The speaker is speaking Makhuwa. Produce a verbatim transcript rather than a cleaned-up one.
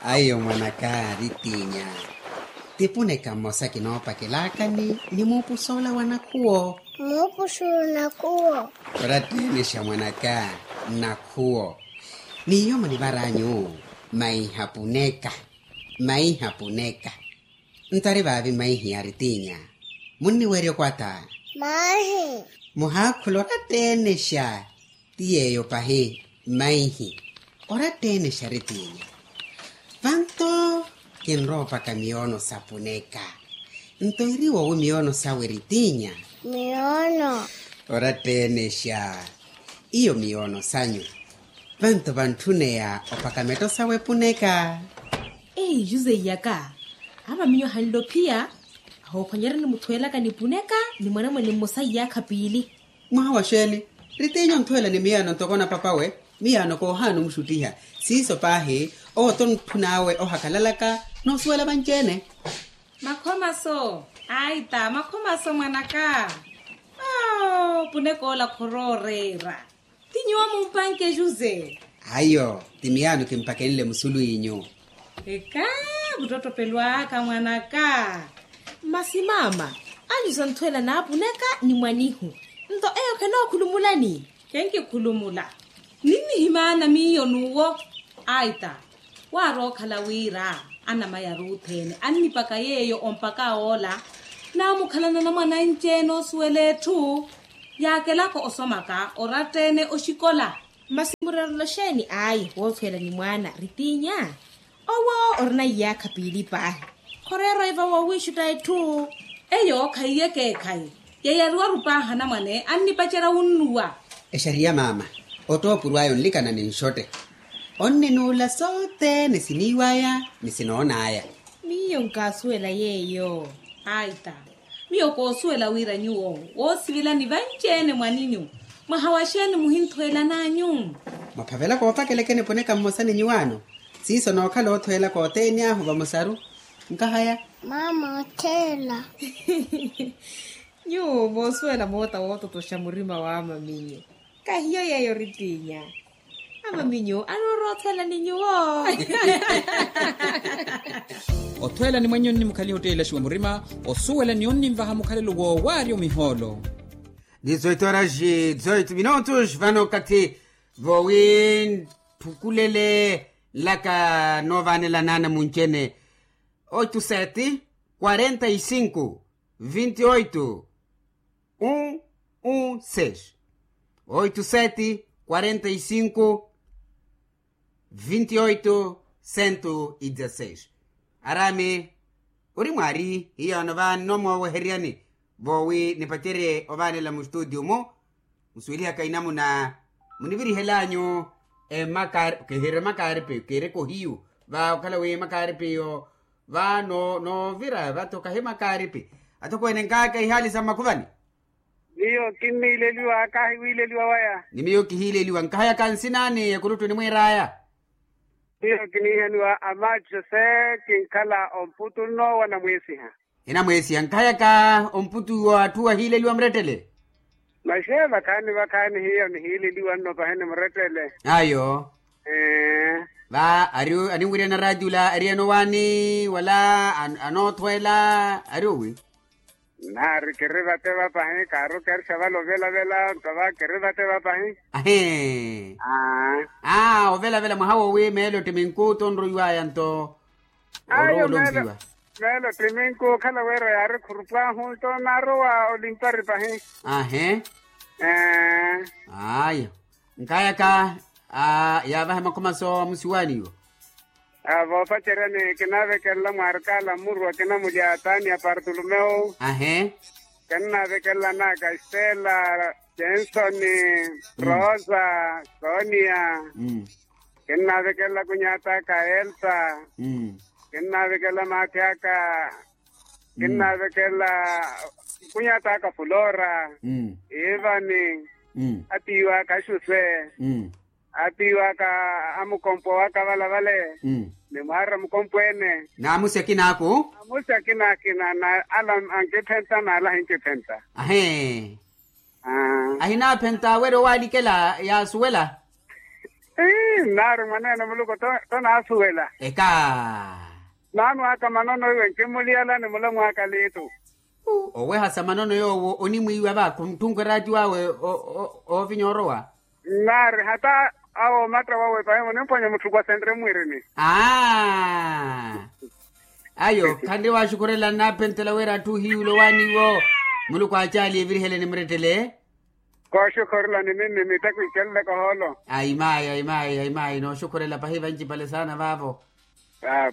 Aiyo mwanaka ritinya, tipuneka mmosa kinoopakelakani ni muupusoola wa nakhuwo. Muupusoola nakhuwo. Oratteenexa mwanaka, nakhuwo. N'iyo munivaranyu maiha puneka. Maiha puneka. Nto ari vaavi maihi aritinya? Munniwerya okwata. Maihi. Muhaakhula oratteenexa. Ti yeeyo pahi. Maihi. Oratteenexa aritinya. Vanto kinroopaka miyoono sa puneka. Nto iri wowi miyoono sawe ritinya? Miyoono. Oratteenexa. Iyo miyoono sanyu. Vanto vantthuneya opaka metto sawe puneka. Ehi jose iyaka. Amaminyo ahanle ophiya. Ahoophwanyerya nimuthweelaka ni puneka ni mwanamwene mmosa iyaakha piili. Mwaha wa xeeni? Ritinya onthweela ni miyaano ntoko na papawe. Miyaano koohaana omuxuttiha. Siiso paahi. Owo tontthu n'awe ohakalalaka. Noosuwela vanci-ene. Makhomaso. Aita makhomaso mwanaka. Aw punek'ola khorooreera. Ti nyuwo mumpanke jose? Ayo. Ti miyaano kimpakenle musulu inyu. Eka. Muttottopelo aka mwanaka. Masi maama, anyu santhweela naapuneka ni mwanihu. Nto eyo khenookhulumulani? Khenkikhulumula. Ninnihimaana miyo n'uwo. Aita. Waarookhala wira anamayi aruuthene annipaka yeeyo ompaka oola. Naamukhalana na mwananci-ene oosuwela etthu. Yaakelaka osomaka oratta-ene oxikola. Masi murerelo xeeni ayi woothweela ni mwaana ritinya? Owo orina iyaakha piili paahi. Khoreera oiva woowiixutta etthu. Eyo khaiyeke ekhayi. Yeyariwaru paahi anamwane annipacerya wunnuwa. Exariya maama. Ottoopuru aya onlikana ni nxotte. Onninuula sothene siniiw'aya ni sinoon'aya. Miyo nkaasuwela yeeyo. Aita. Miyo koosuwela wira nyuwo woosivilani vanci-ene mwaninyu. Mwaha wa xeeni muhinthweelan'anyu? Mwaphavela koopakeleke nipuneka mmosa ni nyuwaano. Siiso nookhala othweelaka othene ahu vamosaru. Nkahaya. Maama otheela. Nyuwo moosuwela moota woototoxa murima w'amaminyo. Kahiyo yeeyo ritinya. Amaminyo anoorothela ni nyuwo. Othwela ni mwenye onnimukhaliha otteilaxiwa murima. Osuwela ni onninvaha mukhalelo woowaarya omihoolo. Dizoito horas dizoito minutos vano nkathi vowi ntthukulele nlaka noovanela naana munci-ene. Oito sete quarenta e cinco vinte e oito um um seis. Oito sete quarenta e cinco vinte e oito cento e dezasseis. Arame ori mwaari hiyo ano vaani nomooweheryani. Vowi nipacerye ovaanela mustudio mu. Musuwelihaka inamuna munivirihel'anyu. Emakaari kihiri makaaripi kihiri kohiyu. Va okhala wi makaaripi iyo va noovira vato kahi makaaripi. Atokweene nkaaka ihaali sa mmakhuvani. Miyo kinniileliwa kaahi wiileliwa waya. Ni miyo kihiileliwa nkahayaka nsinaani ekuluttu enimwiir'aya. Miyo kiniihaniwa amacho se kinkhala omputu nnoowa namweesiha. Enamweesiha nkahayaka omputu wa atthu ahiileliwa murettele. Maxe vakhaani vakhaani hiyo nihiileliwa nno pahene murettele. Ayo. Va ari aninwirya na raatiula ariyeno waani wala anoothweela ari owi? Nnaari kiri vate vapahi kaaru kerixa vale ovelavela nto va kiri vate vapahi. Ahee. Aa ovelavela mwaha wowi meelo ttiminku tonroiwaya nto. Ayo meelo ttiminku okhala wira yaari khurupwahu nto naarowa olimpari pahi. Ahee. Ayo. Nkayaka yaavahe makhomaso amusiwaaniwa. Voopaceryani kinaavekelela mwaarikaala mmuru akina mulya tania partolomeo. Ahe. Kinnaavekelela anaka estela, jensoni, rosa, sonia. Kinnaavekelela kunyata aka elsa. Kinnaavekelela maati aka. Kinnaavekelela kunyata aka fulora, ivani, atiiwa aka axuse. Atiiwaka amukompo waka vale vale. Ni mwaarira mukompo ene. Naamusi akina aku. Naamusi akina akina na ala ankiphenta na ala ahinkiphenta. Ahee. Ahinaaphenta awerya owaalikela yaasuwela. Ii nnaari mwaneene muluku to naasuwela. Eka. Maami aka manono iwe nkimuliyala ni mulamu aka liitu. Owehasa manono yoowo onimwiiwa va khuntthunkwa eraati wawe. Oovinya orowa. Nnaari hata awo omatta wawe pahi munimphwanya mutthukwa senre mwiirini. Aa. Ayo khanri waxukhurela nnaaphentela wira atthu ohiyuula owaani iwo. Muluku aacaali eviriheleni murettele. Kooxukhurela ni minni mitteko ikhelelaka ohoolo. Aimaayi aimaayi aimaayi nooxukhurela pahi vancipale saana vaavo. Aa.